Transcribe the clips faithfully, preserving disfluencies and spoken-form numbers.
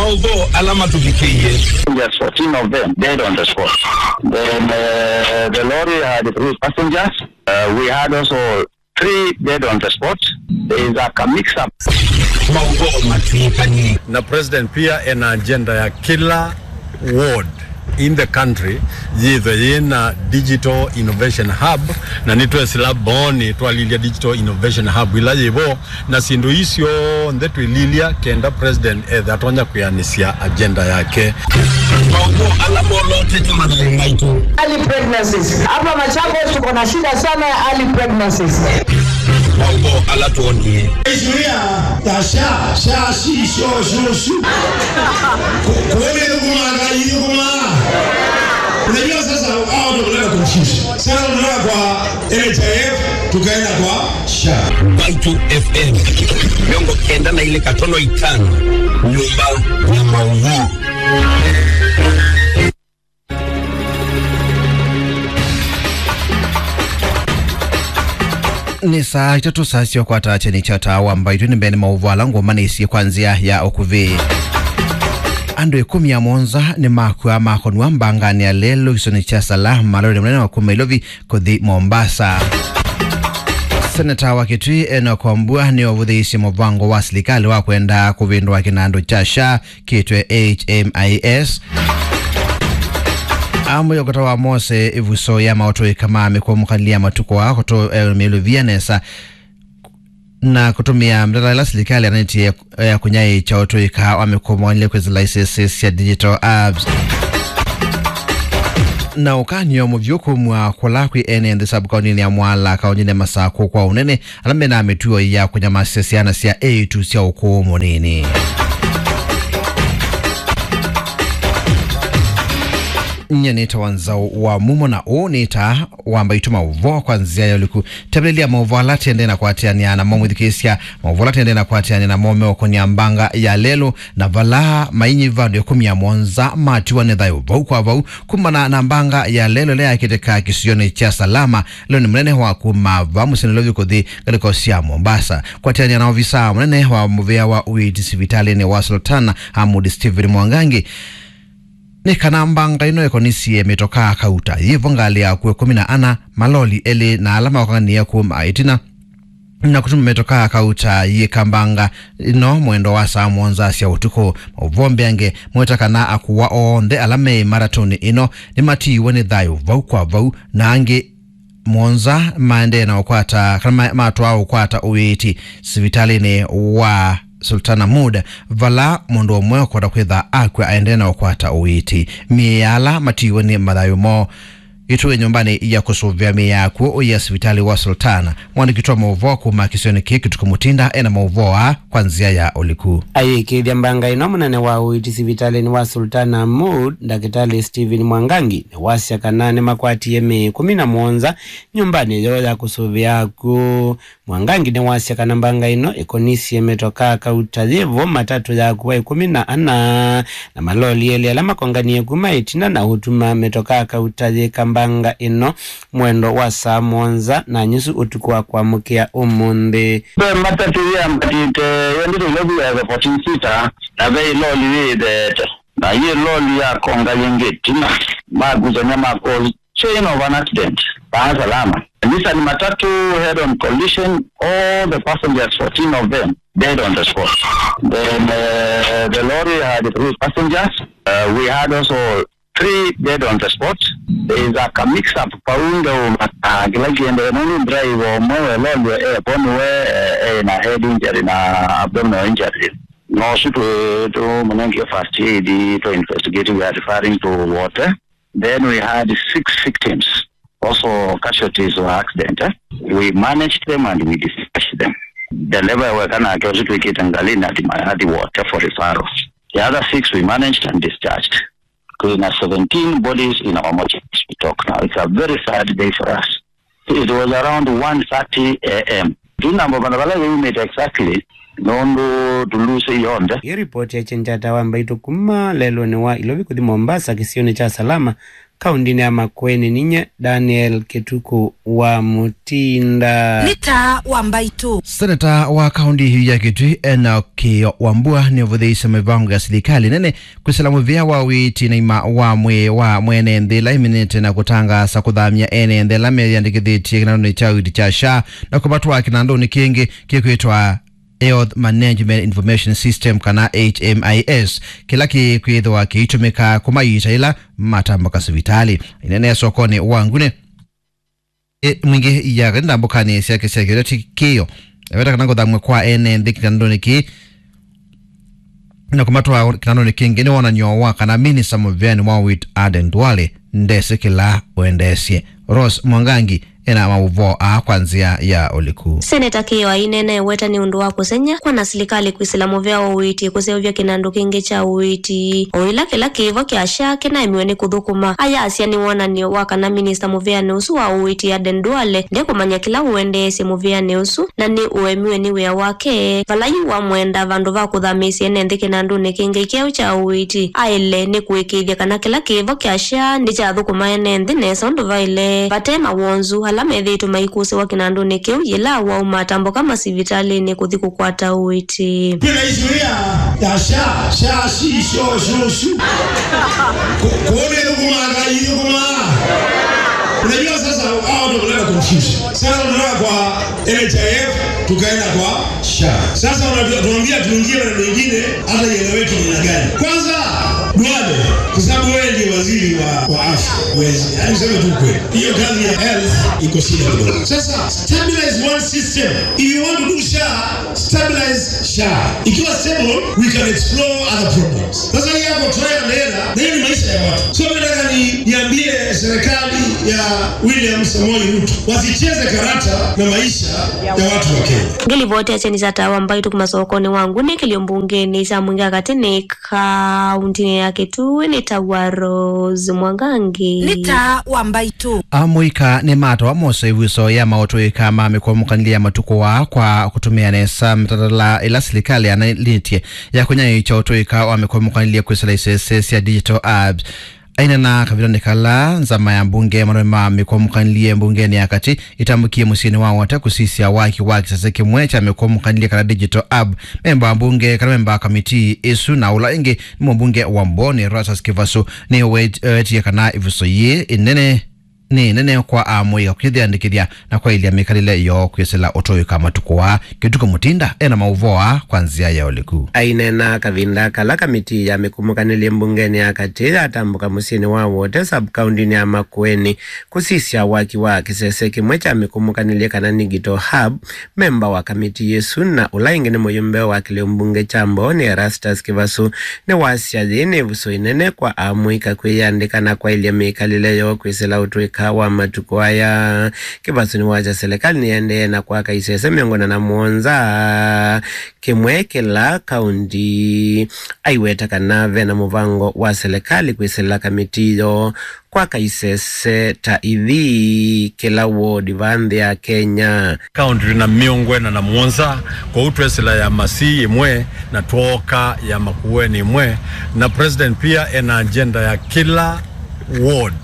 Although ala matũvikĩie. Passengers, fourteen of them dead on the spot. Then, uh, the lorry had three passengers. Uh, we had also three dead on the spot. There is a mix-up. Maũvoo matw'ĩkanie. Na president pia ena agenda ya kila ward in the country yĩthwe yĩna digital innovation hub, na nĩtwesĩla Mbooni twalilya digital innovation hub ila yĩvo, na syĩndũ ii syonthe twĩlilya kenda president ethe atonya kwĩanĩsya agenda yake. Maũvoo ala molotete mathayũ maitũ. Early pregnancies. Hapa Machakos tuko na shida sana ya early pregnancies. Maũvoo ala twonie. Isu ya, ya sha, sha, shi, sho, shu, shu. Ku-, kweli thukuma, ngai thukuma. Unajua sasa, hao ndio kuleta confusion. Sasa tunatoka kwa N H I F, tukaenda kwa sha. Mbaitũ F M, mĩongo kenda na ilĩ katono itano, nyũmba ya maũvoo. Nĩ saa itatũ, saa sya ũkwata kyeni kya taa wa Mbaitũ. Nĩ mbee nĩ maũvoo ala ngũmanĩisye kwa nzĩa ya ũkuvĩ. Andũ ĩkũmi na mũonza nĩmakw'a makonw'a mbanganĩ ya lelũ kĩsionĩ kya Salama, lori mũnene wa kuma Ilovi kũthi Mombasa. Seneta wa Kitui Enock Wambua nĩwavũthĩĩisye mũvango wa silikalĩ wa kwenda kũvĩndũa kĩnandũ kya sha kĩtwe H M I S. Amwĩa ũkata wa Mose ĩvuso ya maũtũĩka ma mĩkũmũkanĩlya matukũ aa kũtũ, eh, mĩlũvia nesa na kũtũmĩa mĩtaala ĩla silikalĩ yanĩtie ya kũnyaĩĩkya ũtũĩka wa mĩkũmũkanĩlya kwĩsĩla isese sya digital apps. Na ũkany'o mũvyũ kumw'a kũla kwĩ ene nthĩ sub-kauntinĩ ya Mwala, kauntinĩ ya Masakũ kwa ũnene, ala mena mĩtuo ya kũnyamasya syana sya eĩtu sya ũkũũ mũnini. Nyie nĩtawa Nzaũ wa Mumo, na ũũ nĩ taa wa Mbaitũ maũvoo kwa nzĩa ya ũliku. Tembelelya maũvoo ala tendee na kwatĩanĩa namo mwĩthukĩĩsya. Maũvoo ala tendee na kwatĩanĩa namo meũkonya mbanga ya lelũ, na vala mainyiva andũ ĩkũmi na mũonza matiwa nĩ thayũ vau kwa vau kumana na mbanga ya lelũ ĩla yakĩtĩka kĩsionĩ kya Salama, lelũnĩ mũnene wa kuma vaa mũsyĩ Nairobi kũthi ngalĩko sya Mombasa. Kwatĩanĩa na ovisa mũnene wa mũvĩa wa ũiiti sivitalĩnĩ wa Sultana Ahmud Stephen Mwangangi, nĩ kana mbanga ĩno ĩkonisye mĩtokaa kauta yĩvo ngalĩ ya akw'ũ ĩkũmi na ana, maloli elĩ na ala maũkanganie kuma ĩtina, na kũtuma mĩtokaa kauta yĩka mbanga ĩno mwendo wa saa mũonza sya ũtukũ. Maũvoo mbeange maweta kana akũwa onthe ala me matatũnĩ ĩno nĩmatiiwe nĩ thayũ vau kwa vau, na angĩ mũonza maendee na ũkwata, kana ma-, matwaa ũkwata ũiiti sivitalĩnĩ wa Sultan Ahmud, vala mũndũ ũmwe ũkwata kwĩtha akw'a aendee na ũkwata ũiiti. Mĩĩ ya ala matiiwe nĩ mathayũ moo ĩtũe nyũmbanĩ ya kũsũvĩa mĩĩ ya akw'ũ ũya sivitalĩ wa Sultan. Mwandĩki wa maũvoo kuma kĩsionĩ kĩĩ Kĩtukũ Mũtinda ena maũvoo aa kwa nzĩa ya ũliku. Ayĩkĩĩthya mbanga ĩno, mũnene wa ũiiti sivitalĩnĩ wa Sultan Ahmud, Ndakĩtalĩ Stephen Mwangangi, nĩwasya kana nĩmakwatie mĩĩ ĩkũmi na mũonza nyũmbanĩ yoo ya kũsũvĩa akw'ũ. Mwangangi nĩwasya kana mbanga ĩno ĩkonisye mĩtokaa kauta yĩvo, matatũ ya akw'ũ ĩkũmi na ana, na maloli elĩ ala makonganie kuma ĩtina na ũtuma mĩtokaa kauta yĩka mbanga ĩno mwendo wa saa mũonza na nyusu ũtukũ wa kwamũkĩa ũmũnthĩ. Ve matatũ yĩambatĩte yendete Nairobi ya fourteen seater, na ve ĩloli yĩtheete, na yĩ loli yakonga yĩngĩ ĩtina, makusany'a mako chain of an accident, Dar es Salaam. Nissan Matatu head-on collision, all the passengers, fourteen of them, dead on the spot. Then, uh, the lorry had three passengers. Uh, we had also three dead on the spot. There is a mix-up paunde uma, uh, kĩla kĩendee nũndũ driver ũmwe we lorry e vo nĩwe, eh, ena head injury na abdominal injury. No ũsu tũ-, tũmũnengie first aid, tũ investigate, we are referring to Wote. Then we had six victims, also casualties of accident, eh? We managed them and we dispatched them. Dereva weka nake ũsu twĩkĩte ngalĩnĩ athi ma-, athi Wote for referral. The other six we managed and discharged. Twĩna seventeen bodies in our mortuary as we talk now. It's a very sad day for us. It was around one thirty A M. Ndinamba vandũ vala yĩumĩte exactly, nũndũ tũlũsĩ yonthe. Ĩ ripoti ya kyenjata wa Mbaitũ kuma lelũnĩ wa Ilovi kũthi Mombasa kĩsionĩ kya Salama, Kaũndĩnĩ ya Makueni, ninyie Daniel Kĩtukũ wa Mũtinda. Nĩ taa wa mbaitũ. Seneta wa kaũndĩ ya Kitui, Enoch Kĩo Wambua, nĩũvũthĩĩsye mĩvango ya silikalĩ nene kwĩsĩla mũvĩa wa ũiiti na ũima wa mwĩĩ wa mwene nthĩ ĩla ĩminĩte na kũtangaasa kũthamya ene nthĩ ala meyĩandĩkĩthĩtye kĩnandũnĩ kya ũiiti kya SHA na kũmatwaa kĩnandũnĩ kĩngĩ kĩkwĩtwa Health Management Information System, kana H M I S, kĩla kĩkwĩthĩwa kĩitũmĩka kũmaita ĩla matambũka sivitalĩ. Inene sokonĩ wa Ngune, e, mwingĩ ya katĩ ndambũkanĩ syake sya kĩũteti kĩo, eweta kana kũthamw'a kwa ene nthĩ kĩtandũnĩ kĩĩ na kũmatwaa kĩtandũnĩ kĩngĩ nĩ wonany'o wa kana minista mũveanĩ wa ũiiti Aden Duale ndesĩ kĩla ũendeesye. Rose Mwangangi ena maũvoo aa kwa nzĩa ya ũliku. Seneta Kĩo aineena eweta nĩ ũndũ wa kũsengy'a kwa na silikalĩ kwĩsĩla mũvea wa ũiiti kũseũvya kĩnandũ kĩngĩ kya ũiiti, o ĩla kĩla kĩvo kya SHA kĩnaemiwe nĩ kũthũkũma. Ayasya nĩ wonany'o wa kana minista mũveanĩ ũsu wa ũiiti Aden Duale ndekũmanya kĩla ũendeesye mũveanĩ ũsu, na nĩ ũemiwe nĩ wĩa wake, vala yu wamwenda vandũ va kũthamĩĩsya ene nthĩ kĩnandũnĩ kĩngĩ kyeũ kya ũiiti, aĩle nĩ kũĩkĩĩthya kana kĩla kĩvo kya SHA nĩkyathũkũma ene nthĩ nesa ũndũ vaĩle, vate mawonzu ala methĩĩtwe maikũsĩwa kĩnandũnĩ kĩu yĩla wauma atambũka masivitalĩnĩ kũthi kũkwata ũiiti. Kwĩna issue ya, ya SHA, SHA, shi, sho, sho, shu. Ku-, kuone thũkũmaa, ithũkũmaa. Unajua sasa, hao ndio kuleta confusion. Sasa tunatoka kwa N H I F, tukaenda kwa SHA. Sasa unatuambia tuingie maneno mengine, hata ieleweki ni namna gani. Kwanza, Duale, kwa sababu wewe ndiye waziri wa, wa afya. Wezi, yaani useme tu kweli. Hiyo kazi ya health iko shida kidogo. Sasa, stabilize one system. If you want to do SHA, stabilize SHA. Ikiwa stable, we can explore other problems. Sasa hii yako trial and error, na hiyo ni maisha ya watu. So mimi nataka ni, niambie serikali ya William Samoei Ruto wasicheze karata na maisha ya watu wa Kenya. Ngilivoti ya cheni cha tawa mbaitũ kuma sokonĩ wa Ngune kĩlio mbungenĩ cha mwingĩ katĩ nĩ kaũndĩnĩ ya Kitui nĩ tawa Rose Mwangangi. Nĩ taa wa mbaitũ. Amũika nĩmatawa mose ĩvuso ya maũtũĩka ma mĩkwamũkanĩlye ya matukũ aa kwa kũtũmĩa nesa mĩtalatala ĩla silikalĩ yanaĩlĩtye ya kũnyaĩĩkya ũtũĩka wa mĩkwamũkanĩlye kwĩsĩla isese sya digital apps. Aineena kavindanĩ kala nzama ya mbunge ya malũme ma mĩkwamũkanĩlye mbungenĩ ya katĩ ĩtambũkie mũsyĩnĩ wa Wote kũsisya waki wa kĩsese kĩmwe kya mĩkwamũkanĩlye kana digital hub, memba wa mbunge kana memba wa kamiti ĩsu na ũla ĩngĩ nĩ mũmbunge wa Mboni Erastus Kĩvasũ nĩwetie kana ĩvuso yĩĩ ĩnene nĩ nene kwa amũika kwĩyĩandĩkĩthya na kwaĩlya mĩkalĩle yoo kwĩsĩla ũtũĩka matukũ aa. Kĩtukũ Mũtinda ena maũvoo aa kwa nzĩa ya ũliku. Aineena kavinda kala kamiti ya mĩkwamũkanĩlye mbungenĩ ya katĩ yatambũka mũsyĩnĩ wa Wote sub-kaũndĩnĩ ya Makueni kũsisya waki wa kĩsese kĩmwe kya mĩkwamũkanĩlye kana digital hub, memba wa kamiti ĩsu na ũla ĩngĩ nĩ mũyũmbe wa kĩlĩo mbunge kya Mboni Erastus Kĩvasũ nĩwasya yĩĩ nĩ ĩvuso ĩnene kwa amũika kwĩyĩandĩka na kwaĩlya mĩkalĩle yoo kwĩsĩla ũtũĩka wa matukũ aya. Kĩvasũ nĩwasya silikalĩ nĩyaendee na kwaka isese mĩongo ĩna na mũonza kĩmwe kĩla kaũndi. Aiweta kana vena mũvango wa silikalĩ kwĩsĩla kamiti yoo kwaka isese ta ithi kĩla wodi va nthĩ ya Kenya. Kaũndi twĩ na mĩongo ĩna na mũonza, kwoou twesĩla ya Masii ĩmwe na twooka ya Makueni ĩmwe, na president pia ena agenda ya kĩla ward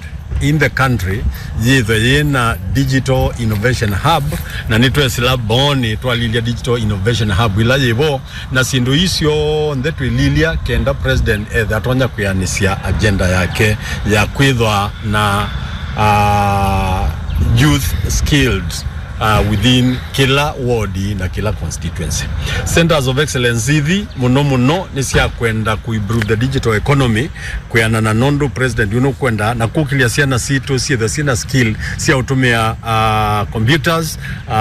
in the country yĩthwe yĩna digital innovation hub, na nĩtwesĩla Mboni twalilya digital innovation hub ila yĩvo, na syĩndũ ii syonthe twĩlilya kenda president ethe atonya kwĩanĩsya agenda yake ya kwĩthwa na, uh, youth skilled, uh, within kĩla ward na kĩla constituency. Centers of excellence ithi mũno mũno nĩ sya kwenda ku improve the digital economy, kwĩanana nũndũ president ũyũ nũkwenda na kũkĩlya syana sitũ syĩthwe syĩna skill sya ũtũmĩa, uh, computers, uh,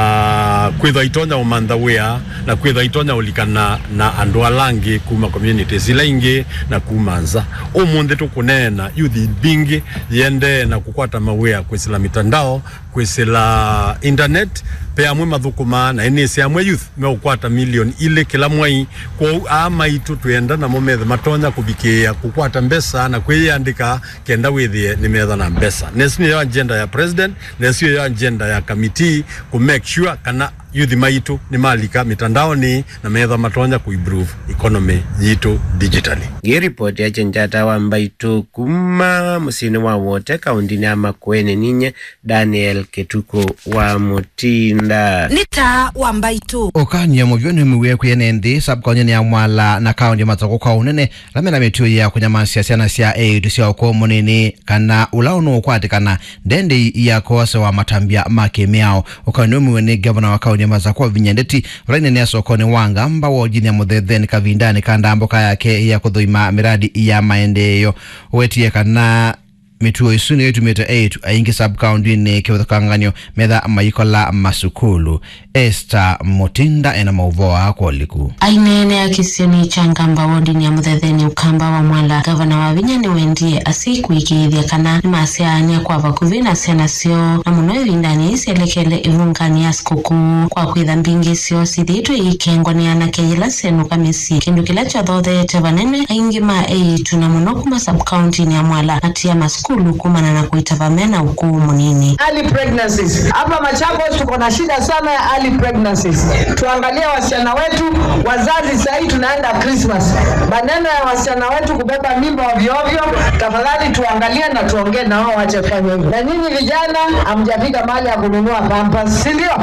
kwĩthwa itonya ũmantha wĩa na kwĩthwa itonya ũlikana na andũ ala angĩ kuma communities ila ingĩ na kuma nza. Ũmũnthĩ tũkũneena youth mbingĩ yĩendee na kũkwata mawĩa kwĩsĩla mitandao, kwĩsĩla internet, Ve amwe mathũkũmaa, na nĩnĩsĩ amwe youth meũkwata milioni ilĩ kĩla mwei. Kwoou aa maitũ twĩenda namo methe matonya kũvikĩĩa kũkwata mbesa na kwĩyĩandĩka kenda wĩthĩe nĩmetha na mbesa. Na ĩsu nĩyo agenda ya president, na ĩsu nĩyo agenda ya committee, kũ make sure kana youth maitũ nĩmalika mĩtandaonĩ na metha matonya kũ improve economy yitũ digitally. Nĩ ripoti ya Chenjata wa Mbaitũ kuma mũsyĩnĩ wa Wote, kaũndĩnĩ ya Makueni, ninye Daniel Kĩtukũ wa Mũtinda. Nĩ taa wa Mbaitũ. Ũkany'o mũvyũ nĩwĩmĩwe kwĩ ene nthĩ sub-kaũntĩnĩ ya Mwala na kaũntĩ ya Masakũ kwa ũnene, ala mena mĩtuo ya kũnyamasya syana sya eĩtu sya ũkũũ mũnini kana ũla ũnũũkwatĩkana ndendei ya kwosewa matambya ma kĩmĩao. Ũkany'o nĩwĩmĩwe nĩ ngavana wa kaũntĩ ya Masakũ Wavinya Ndeti vala aineenea sokonĩ wa Ngamba wodinĩ ya Mũthetheni kavindanĩ ka ndambũka yake ya kũthũima mĩradi ya maendeeo. Wetie kana mĩtuo ĩsu nĩyo ĩtumĩte eĩtu aingĩ sub-kaũntĩnĩ kĩvathũkangany'o metha maikola masukulu. Esther Mutinda ena maũvoo aa kwa ũliku. Aineenea kĩsionĩ kya Ngamba wodinĩ ya Mũthetheni Ũkamba wa Mwala, ngavana Wavinya nĩwendie asyai kũĩkĩĩthya kana nĩmasyaanĩa kwa vakuvĩ na syana syoo, na mũno ĩvindanĩ yĩĩ syelekele ĩvunganĩ ya sikũkũ, kwa kwĩtha mbingĩ syoo syĩthĩĩtwe iikengwa nĩ anake yĩla syenũka mĩsyĩ, kĩndũ kĩla kyathotheete vanene aingĩ ma eĩtu, na mũno kuma sub-kaũntĩnĩ ya Mwala, matia masukulu kumana na kũitava mena ũkũũ mũnini. Early pregnancies. Hapa Machakos tuko na shida sana ya early pregnancies. Tuangalie wasichana wetu, wazazi, sahii tunaenda Christmas. Maneno ya wasichana wetu kubeba mimba ovyo ovyo, tafadhali tuangalie na tuongee na wao wache kufanya hivyo. Na nyinyi vijana, hamjafika mahali ya kununua pampers, si ndio?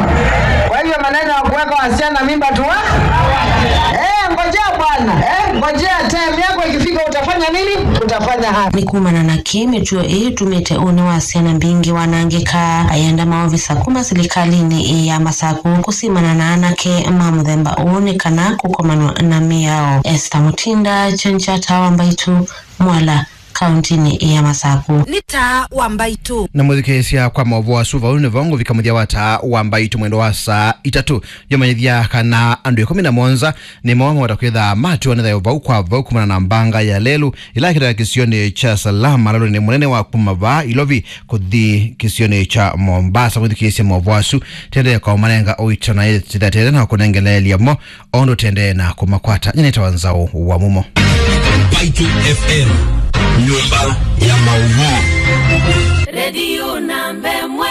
Kwa hivyo maneno ya kuweka wasichana mimba tuwa-, eh, ngojea bwana, eh, ngojea time yako ikifika utafanya nini? Utafanya haya. Nĩ kumana na kĩĩ mĩtuo ĩĩ ĩtumĩte ũnĩ wa syana mbingĩ wanangĩka, ayenda maovisa kuma silikalĩnĩ ĩĩ ya Masakũ kũsimana na anake ma mũthemba ũũ nĩ kana kũkomanwa na mĩao. Esther Mutinda, Chenjata wa Mbaitũ, Mwala, kaũntĩnĩ ya Masakũ. Nĩ taa wa Mbaitũ. Na mũthikĩĩsya, kwa maũvoo asu, vau nĩvo ngũvika mũthya wa taa wa Mbaitũ mwendo wa saa itatũ. Yomanyĩthya kana andũ ĩkũmi na mũonza nĩmo mawata kwĩtha matiwa nĩ thayũ vau kwa vau kumana na mbanga ya lelũ ĩla ĩkĩtaa kĩsionĩ kya Salama, lalũnĩ mũnene wa kuma vaa Ilovi kũthi kĩsionĩ kya Mombasa. Mũthikĩĩsya, maũvoo asu tendee kwa ũmanenga ũito na ĩtĩtatĩte na kũnengeleelya mo o ũndũ tendee na kũmakwata. Nyie nĩtawa Nzaũ wa Mumo. Mbaitũ F M, nyũmba ya maũvoo. Redio namba ĩmwe,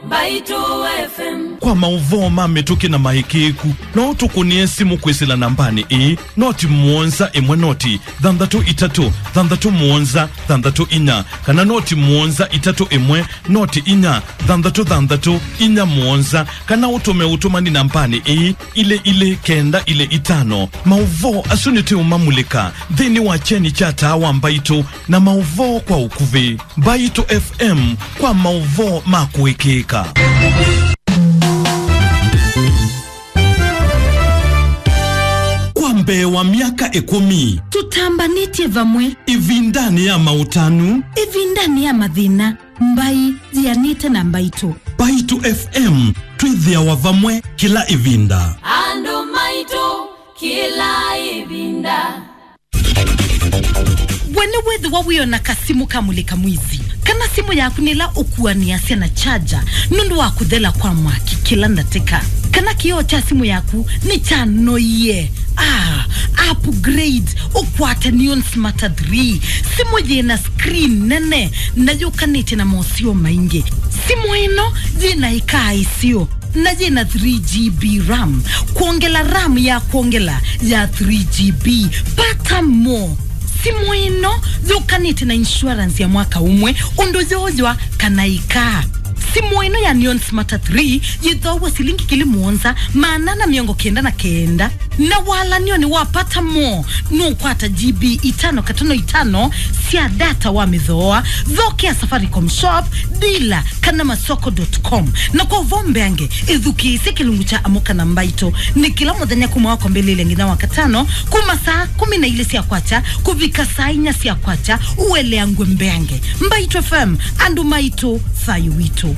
Mbaitũ F M. Kwa maũvoo ma mĩtũkĩ na maĩkĩĩku, no ũtũkũnĩe simũ kwĩsĩla nambanĩ ĩĩ, noti mũonza ĩmwe noti thanthatũ itatũ thanthatũ mũonza thanthatũ inya, kana noti mũonza itatũ ĩmwe noti inya thanthatũ thanthatũ inya mũonza, kana ũtũme ũtũmani nambanĩ ĩĩ, ilĩ ilĩ kenda ilĩ itano. Maũvoo asu nĩtũũmamulĩka nthĩnĩ wa kyeni kya taa wa Mbaitũ na maũvoo kwa ũkuvĩ. Mbaitũ F M, kwa maũvoo ma kũĩkĩĩka. Kwa mbee wa myaka ĩkũmi, tũtambanĩtye vamwe. Ĩvindanĩ ya maũtanu, ĩvindanĩ ya mathĩna, mbai yĩanĩte na Mbaitũ. Mbaitũ F M, twĩthĩawa vamwe kĩla ĩvinda. Andũ maitũ kĩla ĩvinda. We nĩwĩthĩwa wĩona kasimũ ka mũlĩka mwizi, kana simũ yaku nĩ ĩla ũkuanĩasya na charger nũndũ wa kũthela kwa mwaki kĩla ndatĩka, kana kĩoo kya simũ yaku nĩkyanoie? Ah, upgrade ũkwate Neon Smarter three, simũ yĩna screen nene na yũkanĩtye na moseo maingĩ. Simũ ĩno yĩna ĩkaa ĩseo na yĩna three G B RAM. Kwongela RAM ya kwongela ya three G B. Pata mo. Simũ ĩno yũkanĩte na insurance ya mwaka ũmwe ũndũ yooywa kana ĩkaa. Simũ ĩno ya Neon Smarter three yĩthoaw'a silingi ngili mũonza maana ana mĩongo kenda na kenda. Na walanionĩ wa Pata mo, nũkwata G B itano katono itano sya data wa mĩthooa. Thokea Safaricom Shop, dealer, kana masoko dot com. Na kwa ũvoo mbeange, ĩthukĩĩsye kĩlungu kya Amũka na Mbaitũ. Nĩ kĩla mũthenya kuma wa kwambĩlĩlya nginya wa katano, kuma saa kũmi na ilĩ sya kwakya kũvika saa inya sya kwakya, ũeleangw'e mbeange. Mbaitũ F M, andũ maitũ, thayũ witũ.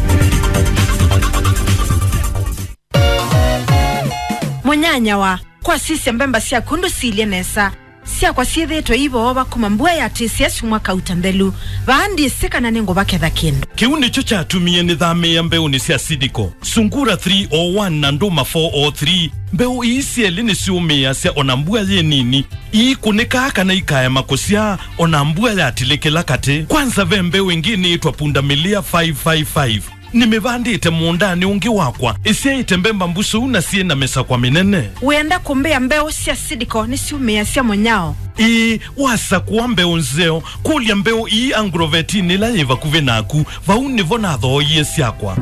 Mũnyanyawa, kwasisya mbemba syaku ndũsilye nesa. Syakwa syĩthĩĩtwe iivoova kuma mbua yatĩsya syumwa kauta nthelu. Vaa ndyĩsĩ kana nĩngũvaketha kĩndũ. Kĩu nĩkyo kyatumie nĩthamĩĩa mbeũnĩ sya Seedco. Sungura three oh one na Nduma four oh three. Mbeũ ii syelĩ nĩsyũmĩĩasya o na mbua yĩ nini. Iikũnĩkaa kana ikaema kũsyaa o na mbua yatilĩkĩla katĩ. Kwanza ve mbeũ ĩngĩ nĩĩtwa Pundamilia five five five. Nĩmĩvandĩte mũũndanĩ ũngĩ wakwa, ĩsyaĩte mbemba mbusũu na syĩ na mĩsakwa mĩnene. Wĩenda kũmbĩa mbeũ sya Seedco nĩsyũmĩĩasya mũnyao? Ĩĩ, wasakũa mbeũ nzeo, kũlya mbeũ ii Agrovetinĩ ĩla yĩ vakuvĩ naku. Vau nĩvo nathooie syakwa.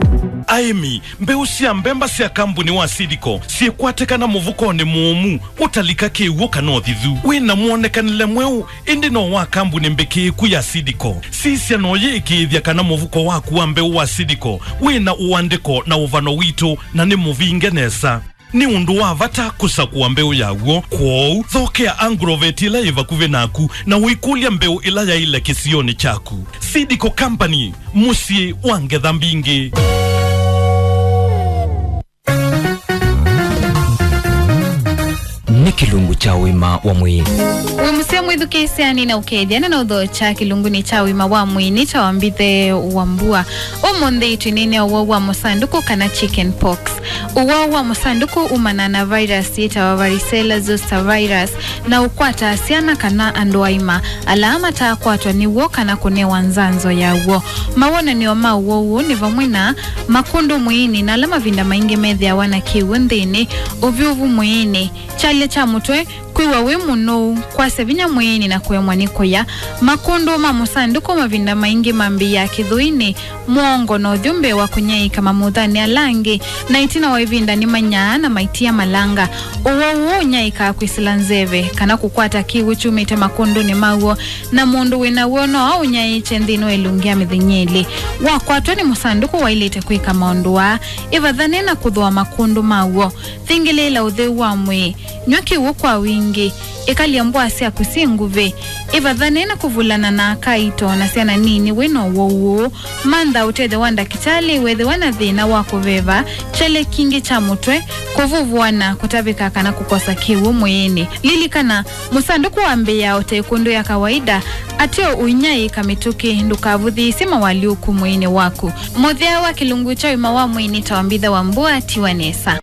Aĩmi, mbeũ sya mbemba sya kambunĩ wa Seedco syĩkwatĩkana mũvukonĩ mũũmu, ũtalika kĩw'ũ kana ũthithu. Wĩ na mwonekanĩle mweũ, ĩndĩ no wa kambunĩ mbĩkĩĩku ya Seedco. Sisya, no yĩĩkĩĩthya kana mũvuko waku wa mbeũ wa Seedco wĩ na ũandĩko na ũvano witũ na nĩ mũvinge nesa. Nĩ ũndũ wa vata kũsakũa mbeũ ya w'o. Kwoou, thokea Agrovet ĩla yĩ vakuvĩ naku na ũikũlya mbeũ ĩla yaĩle kĩsionĩ kyaku. Seedco Company, mũsyĩ wa ngetha mbingĩ. Nĩ kĩlungu kya ũima wa mwĩĩ. Wĩ mũseo mwĩthukĩĩsya, nĩnaũkethya na naũthokya kĩlungunĩ kya ũima wa mwĩĩ nĩ kya Wambithe wa Mbua. Ũmũnthĩ twĩneenea ũwau wa mũsandũkũ kana chicken pox. Ũwau wa mũsandũkũ umanaa na virus yĩtawa varicella zoster virus na ũkwataa syana kana andũ aima ala mataakwatwa nĩw'o kana kũnewa nzanzo yaw'o. Mawonany'o ma ũwau ũũ nĩ vamwe na makũndũ mwĩĩnĩ na ala mavinda maingĩ methĩawa na kĩw'ũ nthĩnĩ, ũvyũvu mwĩĩnĩ, kyalya kya mũtwe, kwĩw'a wĩ mũnou, kwasya vinya mwĩĩnĩ na kũemwa nĩ kũya. Makũndũ ma mũsandũkũ mavinda maingĩ mambĩĩaa kĩthũinĩ, mũongo na ũthyũ mbee wa kũnyaĩĩka mamuthanĩ ala angĩ, na ĩtina wa ĩvinda nĩmanyaa na maitia malanga. Ũwau ũũ ũnyaĩĩkaa kwĩsĩla nzeve kana kũkwata kĩw'ũ kyumĩte makũndũnĩ maw'o, na mũndũ wĩ naw'o no aũnyaĩĩkye nthĩnĩ wa ĩlungu ya mĩthenya ĩlĩ. Wakwatwa nĩ mũsandũkũ, waĩlĩte kwĩka maũndũ aa: ĩvathane na kũthũa makũndũ maw'o, thingĩlĩĩla ũtheu wa mwĩĩ, nyw'a kĩw'ũ kwa wingĩ, ĩkalya mbũa syaku syĩ nguvĩ, ĩvathane na kũvulana na aka aito na syana nini wĩ na ũwau ũũ. Mantha ũtethyo wa ndakĩtalĩ weethĩwa na thĩna wa kũveva, kyalya kingĩ kya mũtwe, kũvũvũana, kũtavĩka kana kũkosa kĩw'ũ mwĩĩnĩ. Lilikana, mũsandũkũ wambĩĩaa o ta ĩkũndũ ya kawaida, ateo ũinyaĩĩka mĩtũkĩ. Ndũkavũthĩĩsye mawalyũku mwĩĩnĩ waku. Mũthya wa kĩlungu kya ũima wa mwĩĩ nĩ ta Wambithe wa Mbua, tiwa nesa.